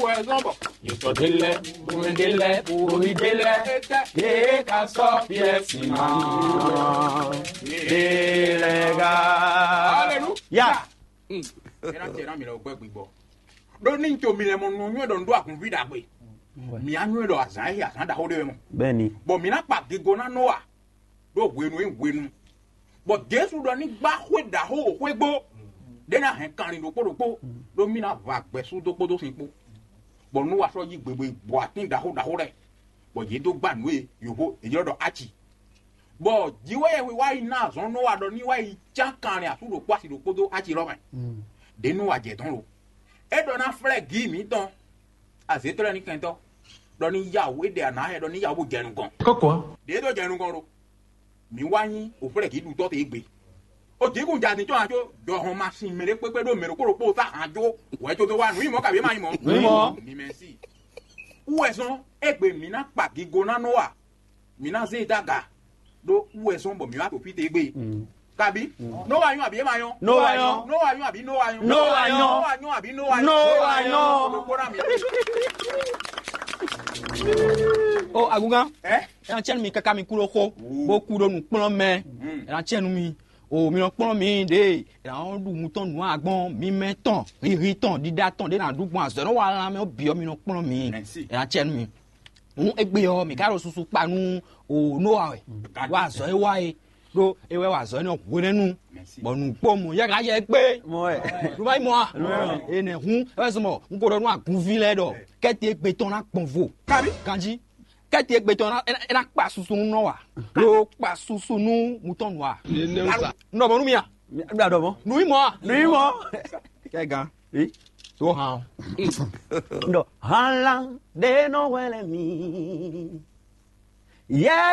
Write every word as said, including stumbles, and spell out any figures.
Poison bɔ. Yotɔ ɖe lɛ, omi ɖe lɛ, omi ɖe lɛ, yee ka sɔ fiɛ si ma. Yee lɛ ga. Hallelujah. Ya. Ena tse na mi lɛ gbɛ gbigbɔ. Ɖo ní to mi lɛ mɔ nɔ nyɔɛ ɖɔ nɖó agunvi ɖagbe. Mi anyɔɛ ɖɔ azan yi azan ɖaxo ɖe mɔ. Bɛni. Bɔ mi na kpa gigo na Nowa. Ɖo hwenu e hwenu. Bɔ Jesu ɖɔ ní gbá xwé ɖaxó o xwé gbó. Ɖé ná hɛn kanlin ɖokpó ɖokpó. Ɖó mí ná va gbɛ̌ sú dó kpódó sin kpó. Bɔ Nowa sɔ́ yí gbegbe bɔ atín ɖaxó ɖaxó lɛ́ɛ. Bɔ yě dó gbá nǔ e yǒxó è ylɔ́ ɖɔ aci. Bɔ jǐ wɛ yɛhwe wá yi ná azɔn Nowa ɖɔ ní wá yi cán kanlin asú ɖokpó asi ɖokpó dó aci lɔ mɛ. Ɖě Nowa jɛ dɔn lo. É ɖɔ ná flɛ́ gǐ mǐtɔn azětlɔ́níkɛntɔ́ ɖɔ ní yá wǔ é ɖe anǎ hɛ ɖɔ ní yá wǔ bó jɛ nukɔn. Kɔkɔ. Ɖě dó jɛ nukɔn ɖo. Mǐ wá nyí òflɛ́gǐɖutɔ́ te égbé. O jǐkún ja din tɔn ajo jɔhɔn ma sin mɛ ɖé kpékpé ɖó mɛ ɖokpó ɖokpó sa hàn jó wɛ tó dó wá nǔ yi mɔ̌ kabi ma yi mɔ̌. Nǔ yi mɔ̌. Mi mɛ si. Wú wɛ zɔn égbé mǐ ná kpa gigo ná Nowa. Mǐ ná zé e dó aga ɖó wú wɛ zɔn bɔ mǐ wá to fí te égbé. Kabi Nowa nyɔ́ abi é ma nyɔ́? Nowa nyɔ́. Nowa nyɔ́ abi Nowa nyɔ́? Nowa nyɔ́. Nowa nyɔ́ abi Nowa nyɔ́? Nowa nyɔ́. Ɖokpó ná mi. O agungan. Ɛ? Ena tiɛnu mi káká mi kú ɖó xó, bó kú ɖó nǔkplɔ́nmɛ. Ena tiɛnu mi, o mi nɔ kplɔ́n mi ɖě ena nɔ ɖu nutɔn nǔ agbɔn mi mɛ tɔn, hihi tɔn, ɖiɖa tɔn ɖě ná ɖu gbɔn azɔ̌ nɔ wa lan mɛ ɔ́ bǐ ɔ́ mi nɔ kplɔ́n mi. Ena tiɛnu mi. Hǔn égbé ɔ́, mǐ ka ɖo susu kpa nú o Nowa wɛ, wa azɔ̌ e wa é, ɖó é wɛ wa azɔ̌ énɛ́ hwenɛ́nu, bɔ nǔgbó mɔ yɛ ká yɛ gbé. Mɔ wɛ. Ɖu ma yi mɔ a? Énɛ́ hǔn é wɛ zɔn bɔ un ko ɖɔ nú agunví lɛ́ɛ ɖɔ kɛ́ti égbé tɔn ná gbɔn vo. Kabi. Ganjí. Kɛ́ti égbé tɔn ná é ná kpa susu nú nɔ wa, ɖó kpa susu nú mutɔn nɔ wa. Nɔ bɔ nú mi a? Ɖɔ mɔ. Nǔ yi mɔ a? Nǔ yi mɔ. Kɛ gan. Tó hàn. Ɖɔ hàn lan ɖe nɔ hwɛ lɛ mi. Yɛ